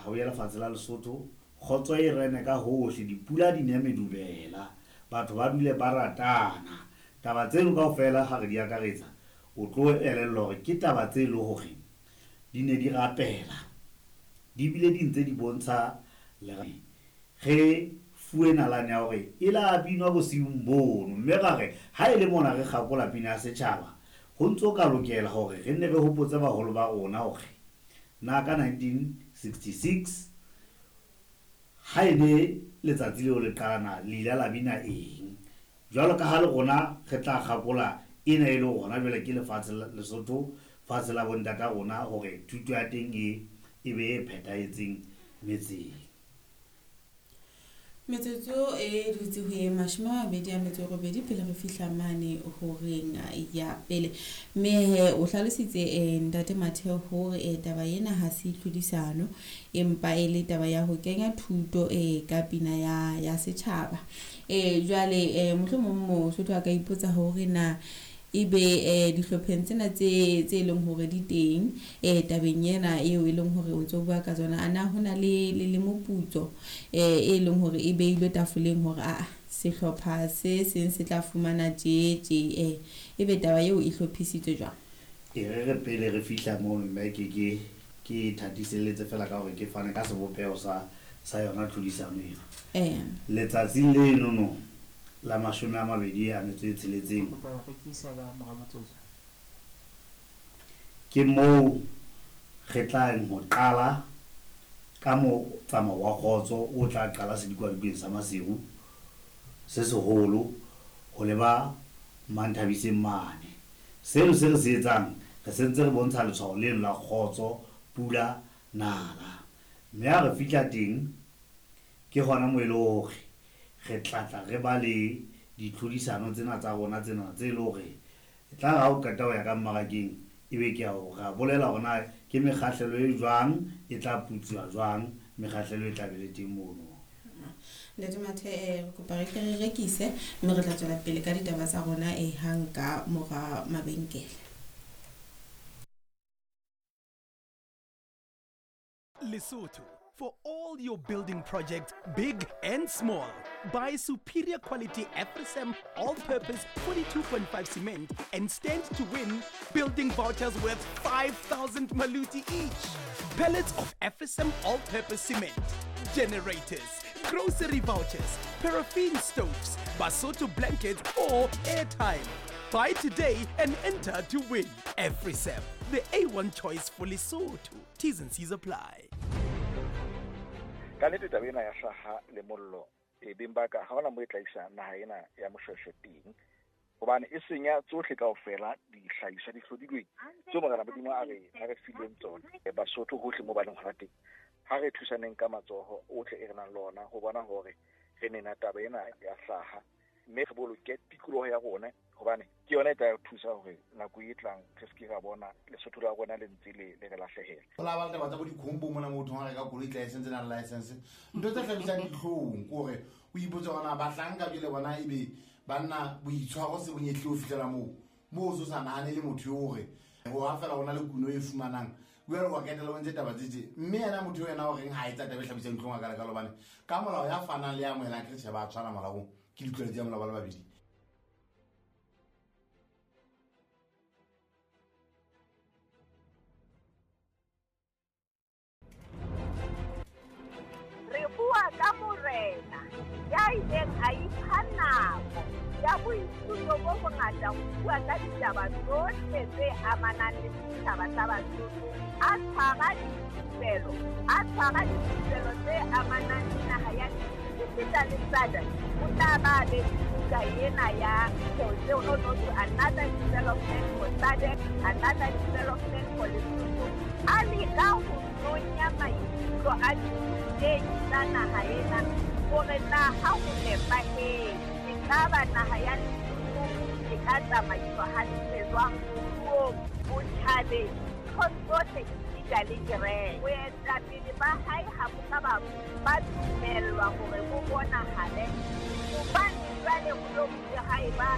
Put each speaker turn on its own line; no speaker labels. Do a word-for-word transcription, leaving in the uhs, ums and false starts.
hauye lefatshe la Lesotho, kgotso e rene ka hohle, dipula di ne medubela, batho ba dule ba ratana. Taba tseno kaofela ha re di akaretsa, o tlo elellwa hore ke taba tse le hore di ne di rapela, di bile di ntse di bontsha le re fuwe nalane ya hore e la binwa bosiung bono. Mme ra re ha e le mona re kgakola pina ya setjhaba, ho ntso ka lokela hore re nne re hopotse baholo ba rona hore na ka nineteen sixty-six ha e ne letsatsi leo le qala na le ile la bina eng. Jwalo ka ha le rona re tla kgakola ena e le hona jwale ke lefatshe la Lesotho, fatshe la bontata rona, hore thuto ya teng e e be e phethahetseng metseng.
Metsotso e dutse ho ye mashome a mabedi a metso e robedi pele re fihla mane horeng ya pele. Mme he o hlalositse eh, ntate Matheo hore eh, taba ena ha se tlhodisano, empa e le taba ya ho kenya thuto eh, ka pina ya, ya setjhaba. Eh, jwale eh, mohlomong Mosotho a ka ipotsa hore na ebe eh, dihlopheng tsena tse tse leng hore di teng eh, tabeng ena eo e leng hore o ntso bua ka tsona, ana hona le le le moputso eh, e leng hore e beilwe tafoleng hore a sehlopha se seng se tla fumana tje tje, eh, ebe taba eo e hlophisitswe jwang?
E re re pele re fihla mono, mme ke ke ke thatiselletse fela ka hore ke fane ka sebopeho sa sa yona tlhodisano ena.
Eh.
Letsatsing leno no la mashome a mabedi a metso e tsheletseng, ke moo re tlang ho qala ka motsamao wa kgotso o tla qala sedikwadikeng sa Maseru se seholo ho leba Manthabiseng mane. Seno se re se etsang, re sentse re bontsha letshwao leno la kgotso, pula, nala. Mme ha re fihla teng, ke hona moo e le hore re tla tla re ba le ditlhodisano tsena tsa rona tsena tse le hore e tla re ha o qeta ho ya ka mmarakeng, ebe ke a o ra bolela hore na ke mekgahlelo e jwang, e tla putsiwa jwang, mekgahlelo e tla be le teng mono.
Ntate Mathe, eh, re kopa re ke re rekise mme re tla tswela pele ka ditaba tsa rona eh, hang ka mora mabenkele.
Lesotho, for all your building projects, big and small. Buy superior quality Afrisam all-purpose forty-two point five cement and stand to win building vouchers worth five thousand maluti each. Pallets of Afrisam all-purpose cement, generators, grocery vouchers, paraffin stoves, Basotho blankets or airtime. Buy today and enter to win. Afrisam, the A one choice for Lesotho. T's and C's apply.
Ka nnete taba ena ya hlaha le mollo e beng ba ka ha hona moo e tla isa naha ena ya Moshweshwe teng, hobane e senya tsohle kaofela dihlahiswa di hlodilweng tseo Morena Modimo a re a re fileng tsona. Basotho hohle moo ba leng hona teng, ha re thusaneng ka matsoho ohle e re nang le ona ho bona hore re nena taba ena ya hlaha, mme re boloke tikoloho ya rona, hobane ke yona e tla re thusa hore nako e tlang re se ke ra bona Lesotho la rona le ntse le le re lahlehela.
Ho la ba le taba tsa bo dikhombo mona moo thong ha reka koloi license na le license, ntho tse hlabisang dihlong ke hore o ipotse hore na bahlanka jwale bona ebe banna boitshwaro se bonyehle ho fihlela moo, moo o so sa nahane le motho eo hore ho ha fela hona le kuno e fumanang, jwale wa ketela o ntse taba tse tje. Mme yena motho eo yena o reng ha etsa taba e hlabisang dihlong a ka lekalo, hobane ka molao ya fanang le ya amohelang ke re tjhe ba tshwana molaong, ke ditlwaelo tsa molao ba le babedi.
Re bua ka morena ya ileng a ipha nako ya boithuto bo bongata ho bua ka ditaba tsohle tse amanang le setjhaba sa Basotho, a tshwara dithupelo, a tshwara dithupelo tse amanang le naha ya esita le S A D C. O tla ba be buka ena ya no no no another development for S A D C, another development for Lesotho. A leka ho nonya maikutlo a dithutehi tsa naha ena hore na ha ho nepahetse ekaba naha ya Lesotho e ka tsamaiswa hantle jwang moruong, botjhabeng, nthong tsohle esita le kereke. Boetapele ba hae ha bo ka ba ba dumellwa hore bo bonahale, hobane jwale ho lo ha eba